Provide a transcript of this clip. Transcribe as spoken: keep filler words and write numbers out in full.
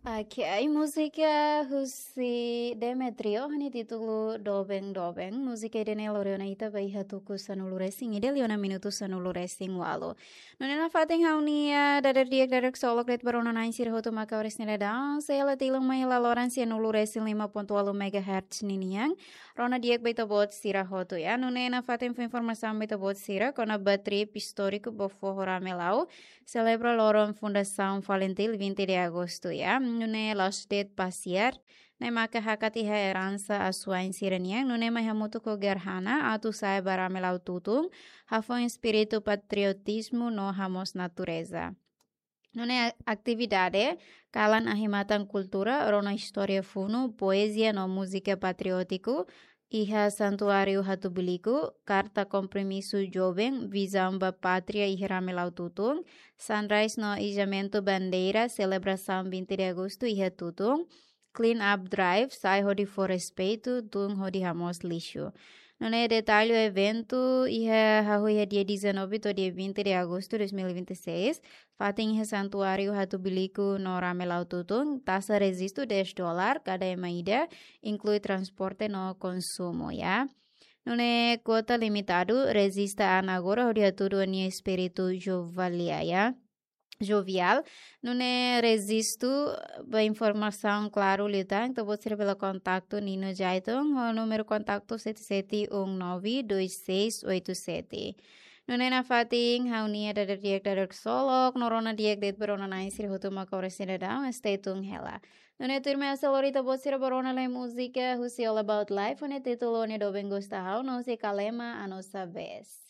Ok, ai múzika husi Demetrio, ho nia títulu Doben Doben. Múzika ida-ne'e lori ona ita ba iha tuku sanulu resin ida, liu ona minutu sanulu resin ualu. Nune'e nafatin ha'u-nia dadeer-di'ak, dadeer-ksolok de'it ba rona-na'in sira hotu mak oras ne'e daudaun, sei hela tilun mai hela loron sanulu resin lima pontu ualu megahertz ninian. Rona di'ak ba ita-boot sira hotu, ya. Nune'e nafatin fó informasaun ba ita-boot sira kona-ba trip istóriku ba foho Ramelau, selebra loron fundasaun FALINTIL vinte de agosto, ya. Nune'e la'ós de'it pasiar, ne'e maka hakat iha eransa asuwa'in sira-nian, nune'e mai hamutuk ho gerhana atu sa'e ba Ramelau tutun, hafoin espíritu patriotizmu no hamoos natureza. Nune'e atividade kalan ahi-matan kultura, rona istória funu, poezia no múzika patriótiku, iha Santuáriu Hatubuiliku, karta kompromisu joven, vizaun ba pátria iha Ramelau tutun, sunrise no ijamentu bandeira, selebrasaun vinte de agosto iha tutun, clean up drive, sa'e hodi fó respeitu, tun hodi hamoos lixu. Nune'e detalle eventu iha hahú iha dia dezanove to'o dia vinte de agosto dois mil e vinte e seis, fatin iha Santuáriu Hatubuiliku no Ramelau tutun, taxa rejistu dez dólar kada ema ida, inklui transporte no konsumu, ya. Nune'e kuota limitadu, rejista an agora hodi hatudu nia espíritu joviál, ya. Joviál, nune'e rejistu ba informasaun klaru liután, ita-boot sira bele kontaktu Nino Jaiton, ho númeru kontaktu sete sete um nove dois seis oito sete. Nune'e nafatin ha'u-nia dadeer-di'ak, dadeer-ksolok, no rona di'ak de'it ba rona-na'in sira hotu mak oras ne'e daudaun, stay tuned hela. Nune'e tuirmai ha'u sei lori ita-boot sira ba rona lai múzika husi All About Life, ho nia títulu Ó Ne'e Doben Gosta Ha'u, no husi Kalema A Nossa Vez.